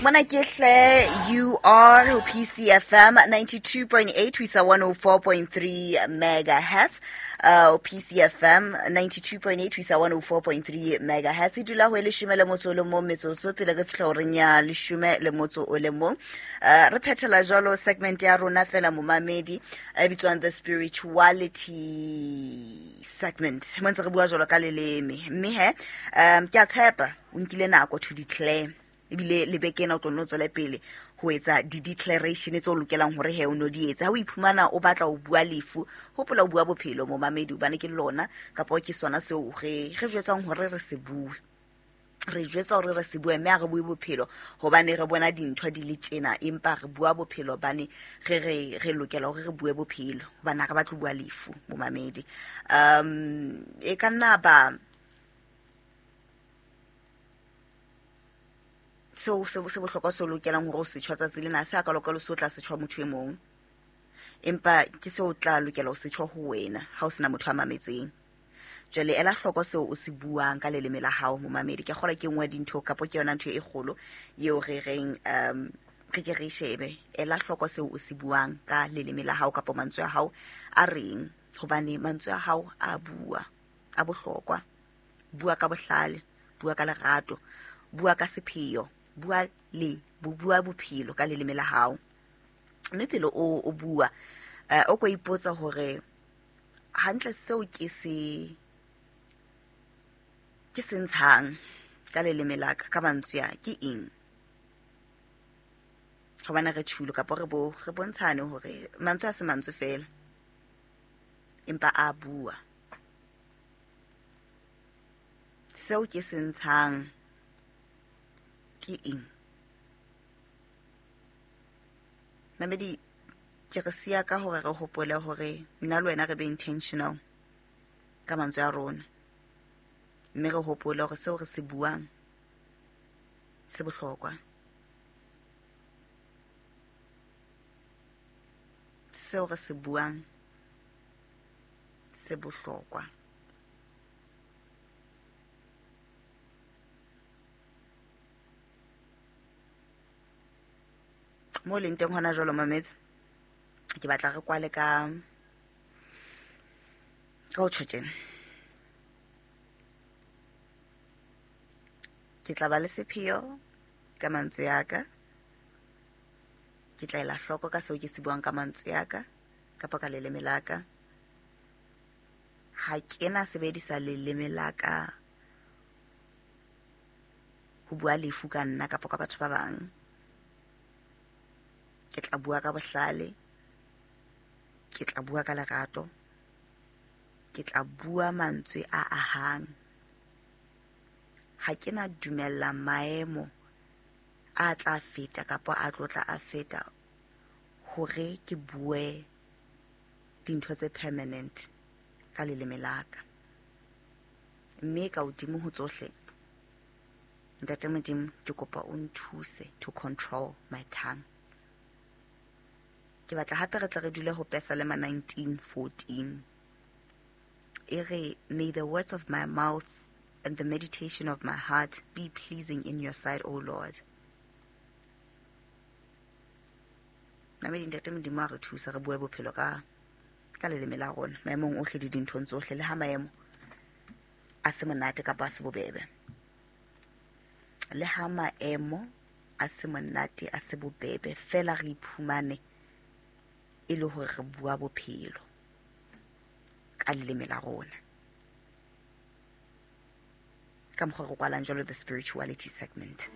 Mona ke hle, you are ho PCFM 92.8 ho isa 104.3 megahertz. PCFM 92.8 ho isa 104.3 megahertz. E dula ho e 11 metsotso pele re fihla horeng ya 11. Re phethela jwalo segment ya rona fela momamedi e bitswang the spirituality segment. Mo ntse re bua jwalo ka leleme. Mme he, ke a tshepa o nkile nako to declare, ebile le beke ena o tlo nno tswele pele ho etsa di-declaration tse o lokelang hore he o no di etse. Ha o iphumana o batla ho bua lefu, hopola o bua bophelo momamedi, hobane ke lona kapa ke sona seo re jwetsang hore re se bue. Re jwetsa hore re se bue, mme ha re bue bophelo hobane re bona dintho di le tjena, empa re bua bophelo hobane re lokela hore re bue bophelo, hobane ha re batle ho bua lefu momamedi. E ka nna ba seo se bohlokwa se o lokelang hore o se tjho tsatsi lena, se a ka lokela se o tla se tjho motho e mong, empa ke seo o tla lokela ho se tjho ho wena ha o sena motho a mametseng. Jwale ela hloko seo o se buang ka leleme la hao momamedi. Ke kgolwa ke nngwe ya dintho kapo ke yona ntho e kgolo eo re reng, re ke re shebe. Ela hloko seo o se buang ka leleme la hao kapo mantswe a hao a reng, hobane mantswe a hao a bua, a bohlokwa. Bua ka bohlale, bua ka lerato, bua ka sepheo, bua le bua bophelo ka leleme la hao. Mme pele o bua, o ko ipotsa hore hantle seo ke se ntshang ka leleme la ka, ka mantswe a ke eng? Hobane re tjhulo kapa re bontshane hore mantswe a se mantswe fela, empa a bua. Seo ke se ntshang ke eng? Mamedi, ke re siya ka hore re hopole hore nna le wena re be intentional ka mantswe a rona, mme re hopole hore seo re se buang se bohlokwa. Seo re se buang se bohlokwa. Mo leng teng hona jwalo mametse, ke batla re kwale ka ho tjho tjena. Ke tla ba le sepheo ka mantswe a ka, ke tla ela hloko ka seo ke se buang ka mantswe a ka kapa ka leleme la ka. Ha ke na sebedisa leleme la ka ho bua lefu ka nna kapa ka batho ba bang. Ke tla bua ka bohlale, ke tla bua ka lerato, ke tla bua mantswe a ahang. Ha ke na dumella maemo a tla feta kapa a tlotla a feta hore ke bue dintho tse permanent ka leleme la ka. Mme ka hodimo ho tsohle, Ntate Modimo, ke kopa o nthuse to control my tongue. Ke batla hape re tle re dule ho Pesalema 19:14. E re, may the words of my mouth and the meditation of my heart be pleasing in your sight, O Lord. Namedi Ntate Modimo a re thusa re bue bophelo ka leleme la rona, maemong ohle le dinthong tsohle, le ha maemo a se monate kapa a se bobebe. Le ha maemo a se monate a se bobebe, fela re iphumane e le hore re bua bophelo ka leleme la rona. Ka mokgwa re kwalang jwalo the spirituality segment.